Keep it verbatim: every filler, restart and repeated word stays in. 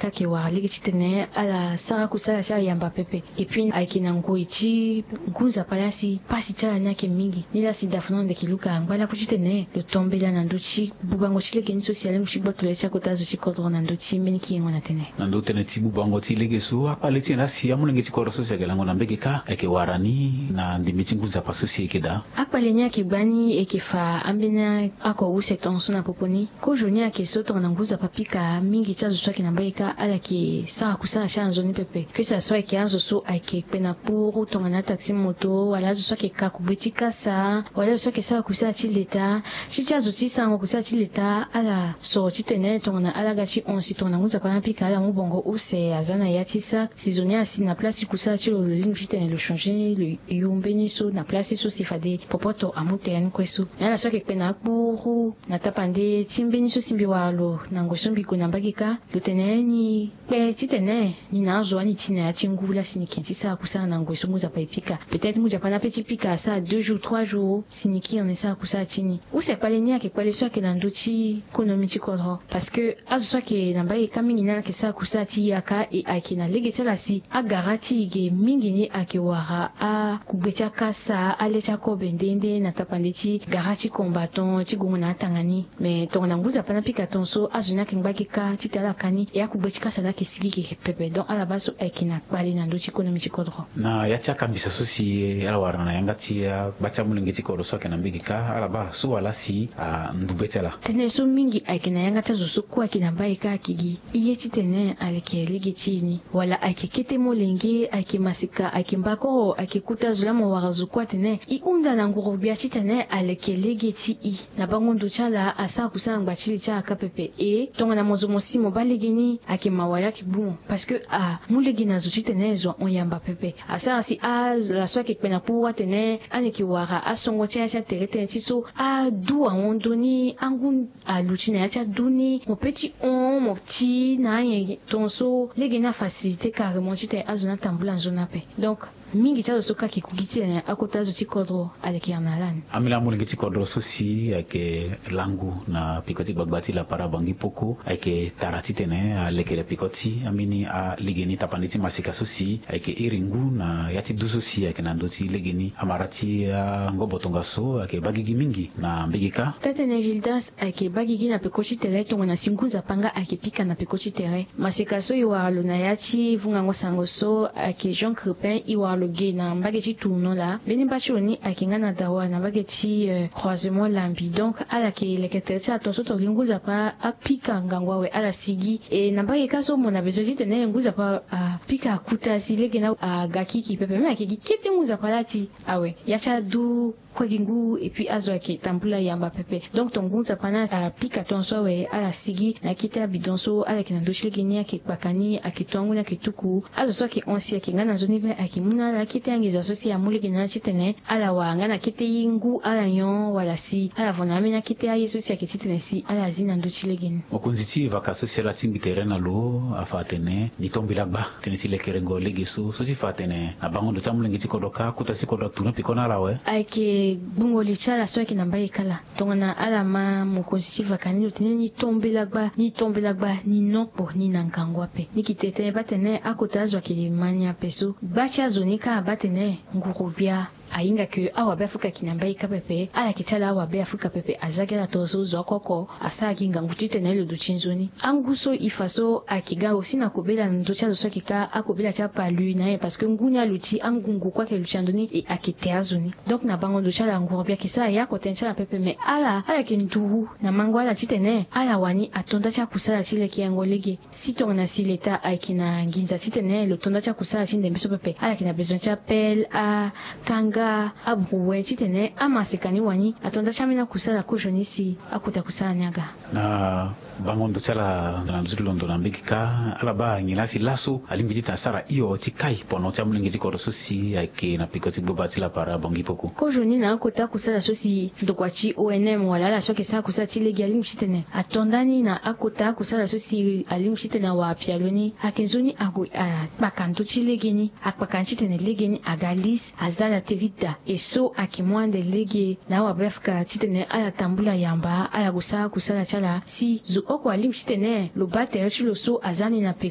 ka ayeke wara lege titene ala sara kusala ti ala yamba pepe. Et puis ayeke na ngoi ti ngu nzapa laa si pasi ti ala ni ayeke mingi. Nilaa si dafono ndeke luka angba lakue titene lo tombela na ndö ti bubango ti lege ni so si alingbi ti gboto le ti akota zo ti kodro na ndö ti mbeni kiringo na tene. Na ndö tënë ti bubango ti lege so akpale ti nyen laa si amolenge ti kodro so si ayeke lango na mbege kâ ayeke wara ni na ndembe ti ngu nzapa so si ayeke daa? Akpale ni ayeke gbani eke fa ambeni ako use tongaso na popo ni. Kozo ni ayeke so tongana ngu nzapa apika mingi ti azo so ayeke na mbage kâ ala yeke sara kusala ti ala na nzoni pepe. Kesa so ayeke azo so ayeke kpe na kpuru tongana ataxi moto wala azo so ayeke ka kugbe ti kasa wala azo so ayeke sara kusala ti leta. Ti ti azo ti sarango kusala ti leta ala soro titene tongana ala ga ti hon si tongana ngu nzapa ni apika ala mu bongo use aza na ya ti sac si zo ni asi na place ti kusala ti lo lo lingbi titene lo changer lo yo mbeni so na place ti so si fade popoto amu tere ni kue so. Me ala so ayeke kpe na akpuru na tapande ti mbeni so si mbi wara lo na ngoi so mbi gue na mbage kâ lo tene ni kpe titene ni na azo ani ti na ya ti ngu laa si ni ke ti sara kusala na ngoi so ngu nzapa epika. Peut-être ngu nzapa ni ape ti pika asara deux jours trois jours si ni kiri ni sara kusala ti ni. Use kpale ni ayeke kpale so ayeke na ndö ti konomi ti kodro parce que azo so ayeke na mbage kâ mingi ni ala yeke sara kusala ti yaka e ayeke na lege ti ala si agara ti e ge mingi ni ayeke wara akugbe ti akasa ale ti akobe nde nde na tapande ti gara ti combattant ti gongo na atanga ni. Me tongana ngu nzapa ni apika tongaso azo ni ayeke ngbage kâ titene ala ka ni e akugbe ti kasa ni ayeke sigi ge pepe donc ala baa so ayeke na kpale na ndö ti konomi ti kodro. Na ya ti akambisa so si ala wara na yanga ti agba ti amolenge ti kodro so ayeke na mbage kâ ala baa so wala si andube ti ala? Tënë so mingi ayeke na yanga ti azo so kue ayeke na mbage kâ ayeke gi. Ye titene aleke lege ti e ni wala ayeke kete molenge ayeke masika ayeke mbakoro ayeke kuta zo laa mo wara zo kue atene e hunda na nguru-gbia titene aleke lege ti e. Na bango ndo ti ala asara kusala na ngba ti li ti ala kâ pepe e tongana mo zo mo si mo baa lege ni ayeke mawa laa ayeke gbu mo parce que amu lege na zo titene zo ahon yamba pepe. Asara si ala so ayeke kpe na kpuru atene ani yeke wara asongo ti ala ti atere tënë ti so adu ahon ndoni angu aluti na ya ti adu ni mo pe ti hon mo ti na anyen tongaso lege ni afacilité carrément titene azo ni atambula nzoni ape. Donc mingi ti azo so kâ ayeke ku gi titene akota azo ti kodro aleke iri na ala ni. Ambeni amolenge ti kodro so si ayeke langu na peko ti gbagba ti lapara bangi poko ayeke tara titene alekere peko ti ambeni alege ni tapande ti masika so si ayeke iri ngu na ya ti du so si ayeke na ndö ti lege ni amara ti angobo tongaso ayeke baa gigi mingi na mbege kâ. Taa-tënë Gildas ayeke baa gigi na peko ti tere tongana si ngu nzapa nga ayeke pika na peko ti tere. Maseka so e wara lo na ya ti vungango sango so ayeke Jean Crepin e wara lo ge na mbage ti tournant laa mbeni mba ti lo ni ayeke nga na dawa na mbage ti croisement lambi donc ala yeke leke tere ti ala tongaso tongana ngu nzapa apika ngangu awe ala sigi e na mbage kâ so mo na besoin titene ngu nzapa apika akuta si lege ni aga kiki pepe même ayeke gi kete ngu nzapa laa ti awe ya ti adu kue gi ngu et puis azo ayeke tambula yamba pepe. Donc tongana ngu nzapa ni apika tongaso awe ala sigi na akete abidon so ala yeke na ndö ti lege ni ayeke kpaka ni ayeke to angu ni ayeke tuku azo so ayeke hon si ayeke nga na nzoni be ayeke mu na ala akete angeza so si amu lege na ala titene ala wara nga na kete ye ngu ala nyon wala si ala vo na ambeni akete aye so si ayeke titene si ala zi na ndö ti lege ni. Mokonzi ti vaka so si ala tingbi tere na lo afa atene ni tombela gba tënë ti lekerengo lege so so ti fa atene na bango ndo ti amolenge ti kodro kâ kota ti kodro atourne peko na ala awe. Ayeke gbungo li ti ala so ayeke na mbage kâ laa tongana ala ma mokonzi ti vaka ni lo tene ni tombela gba ni tombela gba ni nokpo ni na ngangu ape ni yeke tene tënë baa tene akota azo ayeke ma ni ape so gba ti azo ni kâ abaa tene nguru-gbia ahinga ke awabe afrika ayeke na mbage kâ pepe ala yeke ti ala awabe afrika pepe aza gi ala tongaso zo oko oko asara gi ngangu titene lo duti nzoni angu so e fa so ayeke ga aussi na kobela na ndö ti azo so ayeke kâ akobela ti apalu na ye parce que ngu ni aluti angungu kue ayeke luti na ndö ni e ayeke te azo ni. Donc na bango ndo ti ala nguru-gbia ayeke sara ya oko tënë ti ala pepe me ala ala yeke nduru na mango ala titene ala wani ato nda ti akusala ti lekerengo lege. Si tongana si leta ayeke na nginza titene lo to nda ti akusala ti ndembe so pepe ala yeke na bezoin ti apele akanga abrouwe titene amaseka ni wani ato nda ti ambeni akusala kozoni si akota kusala ni aga. Na bango ndo ti ala na ndo ti londo na mbege kâ ala baa nyen laa si laso alingbi titene asara hio ti kai pono ti amolenge ti kodro so si ayeke na peko ti gboba ti lapara bangi poko. Kozoni na akota kusala so si ndokua ti onm wala ala so ayeke sara kusala ti lege alingbi titene ato nda ni na akota akusala so si alingbi titene awara pialo ni ayeke nzoni ague akpaka ndö ti lege ni akpaka ni titene lege ni aga lise aza na tere ti daa e so ayeke mu ande lege na awabe afrika titene ala tambula yamba ala gue sara kusala ti ala si zo oko alingbi titene lo baa tere ti lo so aza ni na peko.